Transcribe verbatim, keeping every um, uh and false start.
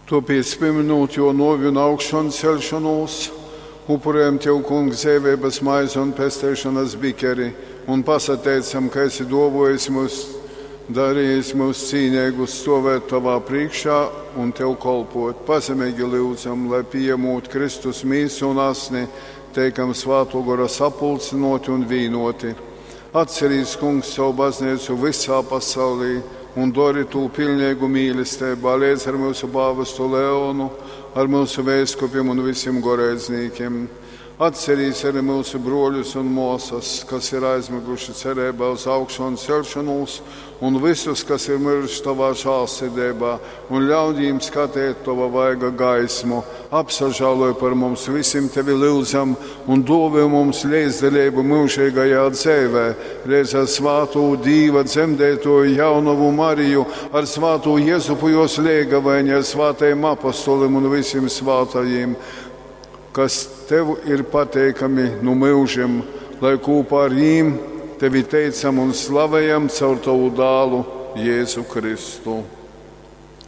Tōpēc, pīmynūt Jō nōvi un augšonceļšonūs, upurējam Tev, Kungs, dzeiveibas maizi un pesteišonas bikeri un pasateicam, ka esi dōvōjis myus, darījis myus cīneigus stōvēt Tovā prīškā un Tev kolpōt. Pazemeigi lyudzam, lai pījamūt Kristus mīsu un asni, teikam Svātō Gora sapulcynōti un vīnōti. Atcerīs, Kungs, savu bazneicu vysā pasaulī un dori tū piļneigu mīlesteibā leidz ar myusu pāvestu Leonu, ar myusu veiskupim un vysim goreidznīkim. Atcerīs arī myusu brōļus un mōsas, kas ir aizmyguši cereibā uz augšonceļšonūs, un vysus, kas ir myruši Tovā žālsirdeibā, un ļauj jim skateit Tova vaiga gaismu. Apsažāloj par mums vysim Tevi lyudzam un dōvoj mums leidzdaleibu myužeigajā dzeivē, leidz ar svātū Dīva dzemdeitōju jaunovu Mariju, ar svātū Jezupu jōs leigavaini, ar svātajim apostolim un vysim svātajim, kas Tev ir pateikami nu myužim, lai kūpā ar jim Tevi teicam un slavejam caur Tovu dālu Jēzu Kristu.